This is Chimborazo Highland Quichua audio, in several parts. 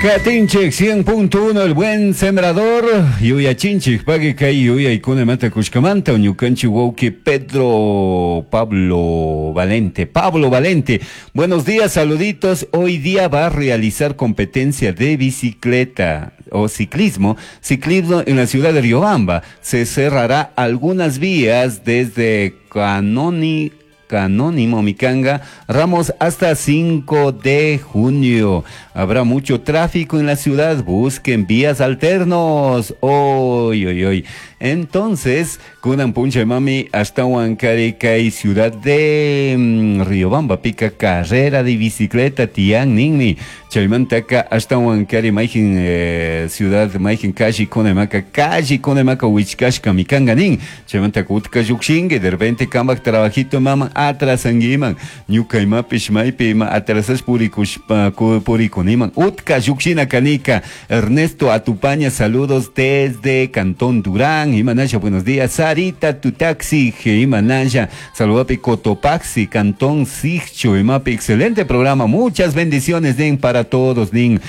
Katinchik 100.1 El Buen Sembrador yuyachinchik pagui kay yuyaykunamanta kushkamanta ñukanchik wawki Pedro Pablo Valente. Pablo Valente, buenos días, saluditos. Hoy día va a realizar competencia de bicicleta o ciclismo, ciclismo en la ciudad de Riobamba. Se cerrará algunas vías desde Canoni Canónimo Micanga, Ramos hasta 5 de junio. Habrá mucho tráfico en la ciudad, busquen vías alternos. Hoy, hoy, hoy. Entonces, kunan puncha mami hasta Huancaricay, ciudad de Riobamba, pica carrera de bicicleta, tian ninmi. Chaymantaka hasta Huancari, mayjin ciudad, mayjin calle kunamaka, calle kunamaka, wichkashka mikanga nin. Chaymantaka utka llukshinki, de repente kambak trabajito mama atrasanguiman. Ñuka imapish maypi ima atrasash purikushpa purikuniman. Utka llukshina kanika. Ernesto Atupaña, saludos desde Cantón Durán. Imanaya, buenos días. Sarita Tutaxi, Imanaya. Saludapi Cotopaxi, Cantón Sigcho, Imapi. Excelente programa. Muchas bendiciones, Nin, para todos, Nin.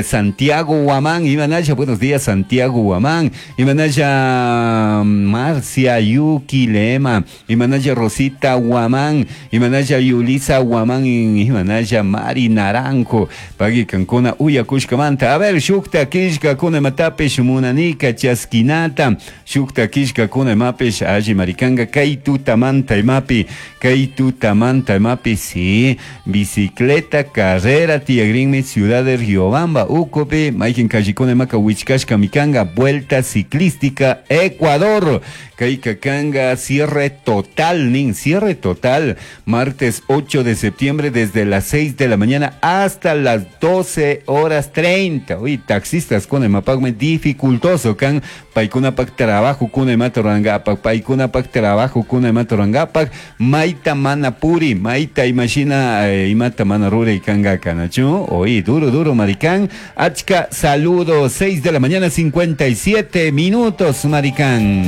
Santiago Huamán, Imanaya, buenos días, Santiago Huamán. Imanaya Marcia Yuki Lema. Imanaya Rosita Huamán. Imanaya Yulisa Huamán. Imanaya Mari Naranjo. Pagui kankuna uyakushkamanta. A ver, shukta kishka kuna matapish munanika chaskinata. Shukta kishka kuna imapish alli maricanga kay tutamanta imapi. Kay tutamanta imapi, sí. Bicicleta, carrera, tiyagrinmi, ciudad de Riobamba, Ucopi, mayjin callikuna imaka wichkashka mikanga, vuelta ciclística, Ecuador. Kay kakanga, cierre total, nin, cierre total, martes 8 de septiembre desde las 6 de la mañana hasta las 12 horas 30. Uy, taxistas con el mapagme dificultoso, kan paykunapak trabajo kuna imata rurangapak, paykunapak trabajo kuna imata rurangapak, mayta mana puri, mayta imashina imata mana ruray kanga kanachu. Oy, duro, duro, maricán. Achka, saludos, 6 de la mañana, 57 minutos, maricán.